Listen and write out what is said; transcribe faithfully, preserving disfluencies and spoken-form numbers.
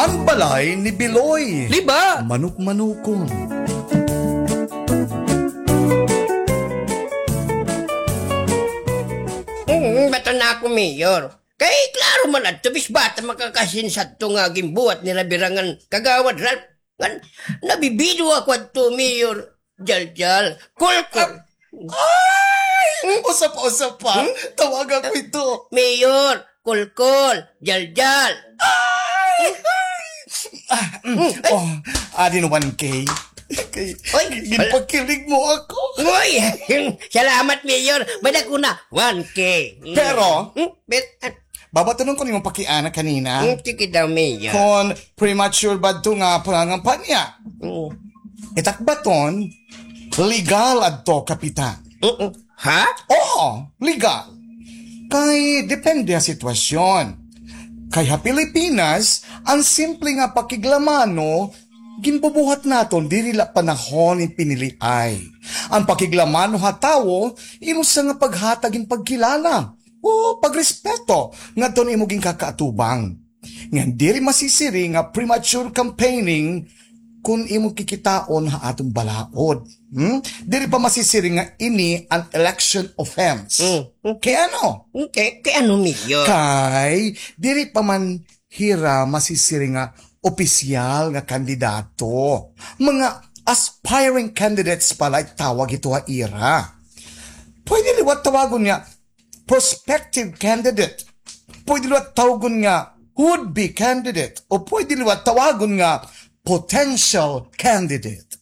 Ang balay ni Biloy. Di ba? Manok-manokon. Mm, bata na ako, Mayor. Kay klaro man adto, bis bata makakasin sadto nga ginbuhat ni Rabirangan Kagawad Ralph. Ngan, nabibido ako adto, Mayor. Jaljal. Kulkol. Ay! Usa pa, usa pa. Hmm? Tawagan ko ito. Mayor, Kulkol, Jaljal. Ay! Ay! Ah, mm. Hmm, ay. Oh, adi na one K. Kay, oy, ginpakilig mo ako. Uy! Salamat, Mayor. Madako na, one K. Pero, hmm? Pero, ah, babatunon ko an imo pakiana kanina. Hmm, sige daw, Mayor. Kon premature ba adto nga pangangampanya? Hmm. It ak baton, legal adto, Kapitan. Mm-mm. Ha? Oo, legal. Kay depende ha sitwasyon. Kay ha Pilipinas, an simple nga pakiglamano, ginbubuhat naton diri la panahon hin piniliay. An pakiglamano ha tawo, imo sa nga paghatag hin pagkilala o pagrespeto ngadton imo ginkakaatubang. Ngan diri masisiring nga premature campaigning kon imo kikitaon ha aton balaod. Hmm? Diri pa masisiring nga ini an election offense. Hmm. Kay ano? Hmm, kay, kay ano, Mayor? Kay diri pa man hira masisiring nga opisyal nga kandidato. Mga aspiring candidates pa la it tawag hito ha ira. Pwede liwat tawagon nga prospective candidate. Pwede liwat tawagon nga would-be candidate. O pwede liwat tawagon nga potential candidate.